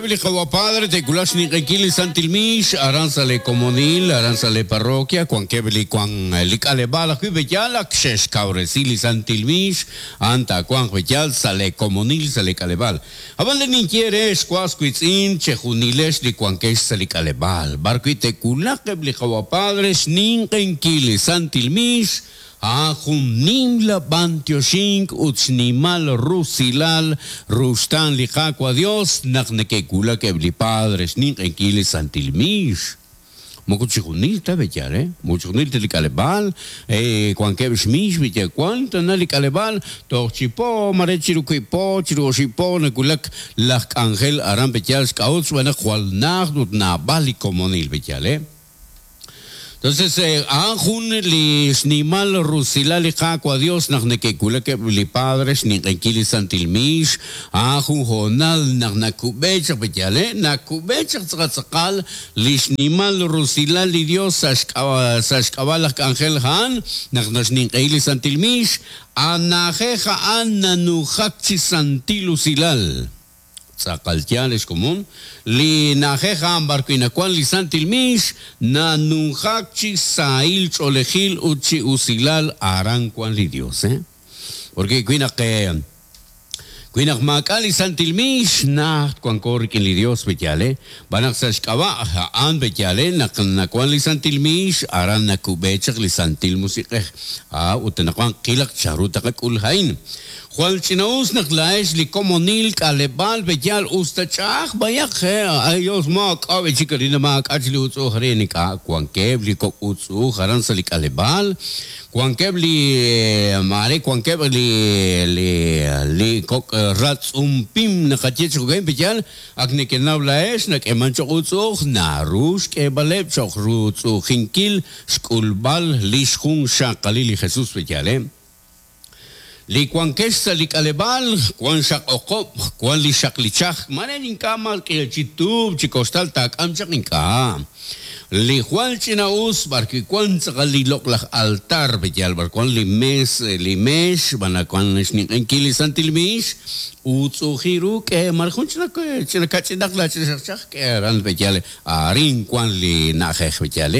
Li Qawa' Padre te'wulaq xninq'ehinkil li Santil Miix aran sa' lee komonil, aran sa' lee parroquia, wankeb' li wan li k'aleb'aal ajwi' b'eyal ak xe'xkawresi li Santil Miix, a'an taawanq b'eyal sa' lee komonil, sa' lee k'aleb'aal. Ab'an li ninye eere, ex was wiitz'in, chejunilex li wankex sa' li k'aleb'aal, b'ar wi' te'wulaq eb' li Qawa' Padre xninq'ehinkil li Santil Miix, A'an jun nimla b'antioxink ut xnimal rusilal ruxtaan li Qaawa' Dios naq neke'wulak eb' li padre xninq'ehinkil li santil miix. Moko chijunil ta b'eyaal, eh? Moko chijunil ta li k'aleb'aal, wankeb' xmiix b'eyaal. Wank tana li k'aleb'aal toj chi po, mare chiru wiib' po, chiru oxib' po nawulak laj k'anjel aran b'eyaal xk'a'ut xb'aan naq jwal najt ut naab'al li komonil b'eyaal, eh? Entonces, a'an jun li xnimal rusilal li Qaawa' Dios naq neke'wulak eb' li padre xninq'ehinkil li santil miix, a'an jun hoonal naq nakub'e chaq pe'yaal, nakub'e chaq tz'aqal tz'aqal li xnimal rusilal li Dios sa' sa' xk'ab'a' laj k'anjel a'an naq naxninq'ehi li santil miix, a na'ajej a'an nanujak chi santil usilal. Tz'aqal yaal, ex komon, li na'ajej a'an b'ar wi' nawank li santil miix, nanunjak chi sahil ch'oolejil ut chi usilal aran wank li Dios. Porque wi naq wi naq maak'a' li santil miix, najt wanko rik'in li Dios, pe'yaal, B'an naq sa' xk'ab'a' a'an pe'yaal, naq nawank li santil miix, aran nakub'e chaq li Santil Musiq'ej. A Ut anaqwan qilaq chanru taqak'ul a'in. Jwal ch'ina'us naq laa'ex li komonil k'aleb'aal pe'yaal us ta ch'a'aj b'ayaq, ay Dios maak'a' b'e chik arin maak'a' chik li utz'u'uj arin, ink'a' wankeb' li kok' utz'u'uj aran sa' li k'aleb'aal, wankeb' li maare wankeb' li li li kok' ratz'um pim naqaye chi jo'ka'in pe'yaal ak nekenaw laa'ex nak'eeman cho'q utz'u'uj naru xk'eeb'aleb' cho'q rutz'u'ujinkil xk'ulb'al li xjunxaqalil li Jesus pe'yaal, Li wankex sa' li k'aleb'aal, wan xaq oqob', wan li xaq li chaj, mare ink'a' mal k'ihal chi tuub' chi koxtal taak'am chaq ink'a'. Li jwal ch'ina'us b'arwi' wan tz'aqal li loq'laj altar, pe'yaal b'ar wan li mes, li meex, b'an wan xninq'ehinkil li santil miix, utz'u'ujin ru k'e mare jun ch'ina ch'ina kach'inaq la ch'ina xaq chaj k'e aran pe'yaal Arin wank li na'ajej b'eyal.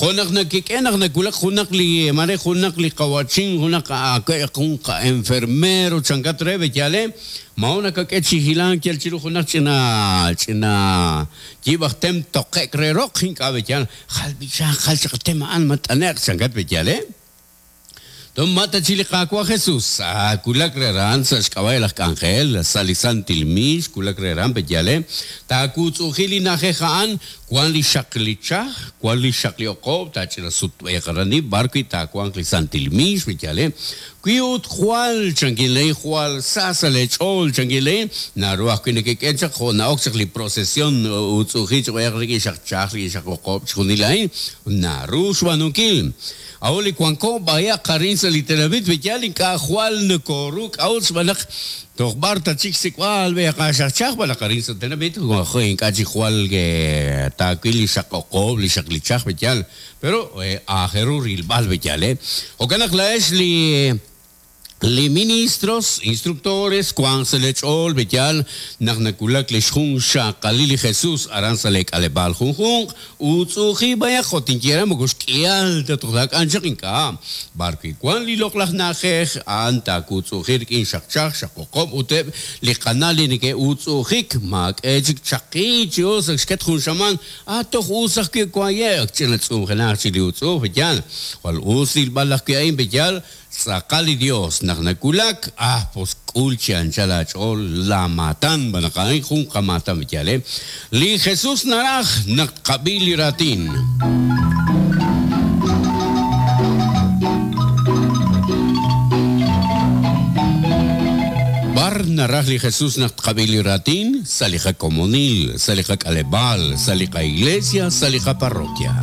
Jo' naq nakik'e naq nawulak junaq li mare junaq li qawa'chin, junaq aawe' jun qa-enfermero chankat re b'eyal, maawa' nakak'e chi hilank yal chiru junaq ch'ina ch'ina yiib' aj tem toqe'k re roq, ink'a' b'eyal, jal b'ichaaq, jal chaq tem a'an mat'ane'q chankat b'eyal. Toj ma ta chi li Qaawa' Jesus wulak re aran sa' xk'ab'a' laj k'anjel sa' li santil miix wulak re aran pe'yaal taawutz'u'uji li na'ajej a'an wan li xaq li chaj, wan li xaq li oqob' taach'ina sutb'eeq aran ib' b'ar wi' taawanq li santil miix pe'yaal wi ut jwal chankin lee jwal sa sa' lee ch'ool chankin lee naru ajwi' nekek'e chaq jo' na'ok chaq li procesion utz'u'uji chaq b'ayaq rik'in xaq chaj rik'in xaq oqob' chixjunil a'in naru xb'aanunkil. A'ut li wanko b'ayaq arin sa' li tenamit b'eyal ink'a' jwal nokoru k'a'ut xb'aan naq toj b'ar ta chik xsik'b'al b'e qaxajchaj b'an naq arin sa' tenamit ink'a' chik jwal taawil li xaq oqob' li xaq li chaj b'eyal pero aajel ru rilb'al b'eyal jo'kan naq laa'ex li Li ministros, instructores, wanq sa' lee ch'ool b'eyal naq nawulak lix junxaqalil li Jesus aran sa' lee k'aleb'aal junjunq, utz'u'uji b'ayaq jo' tinye re moko xk'ihal ta toj laak'an chaq ink'a'. B'ar wi' wan li loq'laj na'ajej, a'an taawutz'u'uji rik'in xaq chaj, xaq oqob' ut eb' li qana' li neke'utz'u'ujik, maak'e chik chaqi chi us ak xket jun xamaan, a toj us ajwi' waye' ak ch'ina tz'umjenaq chik li utz'u'uj b'eyal. Jwal us rilb'al ajwi' a'in b'eyal, Tz'aqal li Dios naq nawulak, ah, pos k'ul chi anchal aach'ool laa maatan, xb'aan naq a'in jun qamaatan b'iyal, eh. Li Jesus naraj naq tqab'i li raatin. B'ar naraj li Jesus naq tqab'i li raatin? Sa' li qakomonil, sa' li qak'aleb'aal, sa' li qaiglesia, sa' li qaparroquia.